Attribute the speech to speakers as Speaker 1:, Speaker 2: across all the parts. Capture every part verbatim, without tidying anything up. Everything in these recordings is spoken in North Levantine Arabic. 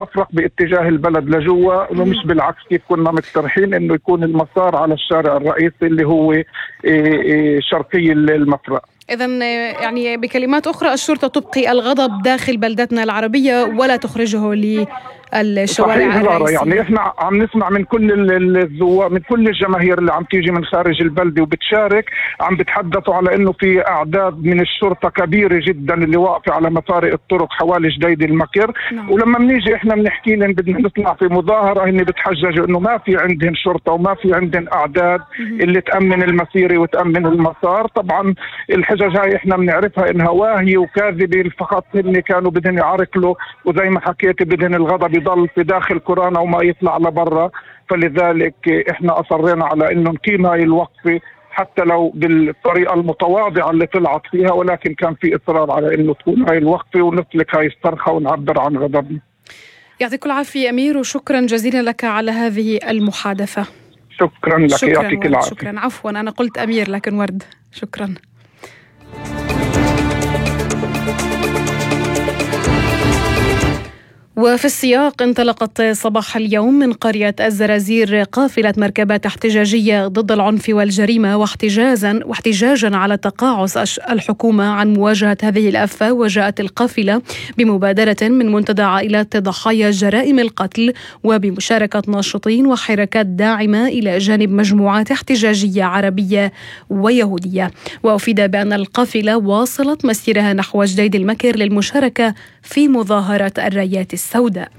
Speaker 1: مفرق باتجاه البلد لجوا، انه مش بالعكس كيف كنا مقترحين انه يكون المسار على الشارع الرئيسي اللي هو شرقي المفرق.
Speaker 2: إذن يعني بكلمات أخرى الشرطة تبقي الغضب داخل بلدتنا العربية ولا تخرجه للشوارع الرئيسية.
Speaker 1: يعني إحنا عم نسمع من كل الزوار، من كل الجماهير اللي عم تيجي من خارج البلدة وبتشارك، عم بتحدثوا على إنه في أعداد من الشرطة كبيرة جدا اللي واقفة على مفارق الطرق حوالي جديد المكر. نعم. ولما بنيجي إحنا بنحكي لهم بدنا نطلع في مظاهرة، هن بتحججوا إنه ما في عندهم شرطة وما في عندهم أعداد اللي تأمن المسيرة وتأمن المسار. طبعا الحجج هاي احنا بنعرفها انها واهية وكاذبة، فقط هن كانوا بدهم يعرقلوا، وزي ما حكيت بدهم الغضب يضل في داخل كورونا وما يطلع لبرا. فلذلك احنا اصرينا على انه نقيم هاي الوقفة حتى لو بالطريقة المتواضعة اللي طلعت فيها، ولكن كان في اصرار على انه تكون هاي الوقفة ونسلك هاي الصرخة ونعبر عن غضبنا.
Speaker 2: يعطيك العافية أمير، وشكرا جزيلا لك على هذه المحادثة.
Speaker 1: شكرا لك.
Speaker 2: شكرا
Speaker 1: يعطيك العافية.
Speaker 2: شكرا. عفوا أنا قلت أمير لكن ورد. شكرا. وفي السياق، انطلقت صباح اليوم من قرية الزرازير قافلة مركبات احتجاجية ضد العنف والجريمة واحتجازا واحتجاجا على تقاعس الحكومة عن مواجهة هذه الآفة. وجاءت القافلة بمبادرة من منتدى عائلات ضحايا جرائم القتل وبمشاركة ناشطين وحركات داعمة إلى جانب مجموعات احتجاجية عربية ويهودية. وأفيد بأن القافلة واصلت مسيرها نحو جديد المكر للمشاركة في مظاهرة الرايات السوداء.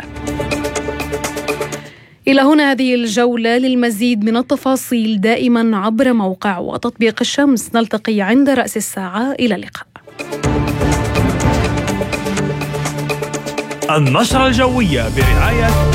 Speaker 2: إلى هنا هذه الجولة. للمزيد من التفاصيل دائما عبر موقع وتطبيق الشمس. نلتقي عند رأس الساعة. إلى اللقاء.
Speaker 3: النشرة الجوية برعاية